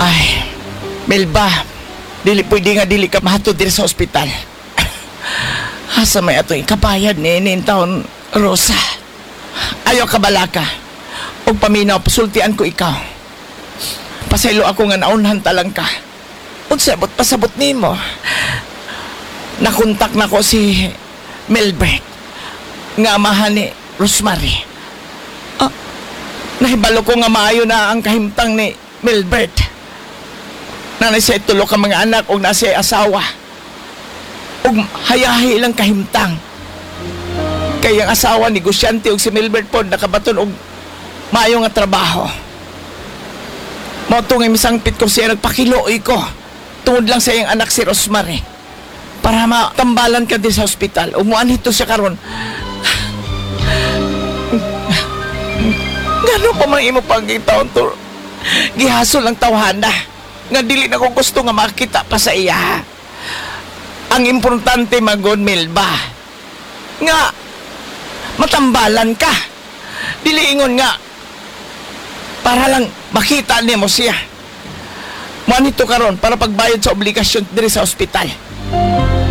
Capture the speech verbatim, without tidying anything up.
Ay, Melba, dili pwede nga dili ka mahatod diri sa ospital. Asa may atong ikabayad ni ini taon, Rosa. Ayaw ka balaka. Og paminaw, pasultian ko ikaw. Pasaylo ako nga naunhan talang ka. Unsa bot pasabot nimo? Nakontak na ko si Melbert nga amahan ni Rosemary. Ah, nahibalo ko nga maayo na ang kahimtang ni Melbert. Naa na siya tulo ka mga anak ug naa siya asawa. Ug hayahi lang kahimtang. Kay ang asawa negosyante ug si Milbert pod nakabaton og maayo nga trabaho. Mao to nga misangpit ko siya, nagpakiluoy ko. Tungod lang sa iyang anak si Rosemary. Para matambalan ka din sa ospital. Ug muanhi to siya karon. Ngano pa man imo pangitaon to? Gihasol ang tawhana. Nga dili na ko gusto nga makita pa sa iya. Ang importante magod, Melba, nga matambalan ka. Dili ingon nga para lang makita nimo siya. Mo nito karon para pagbayad sa obligasyon diri sa ospital.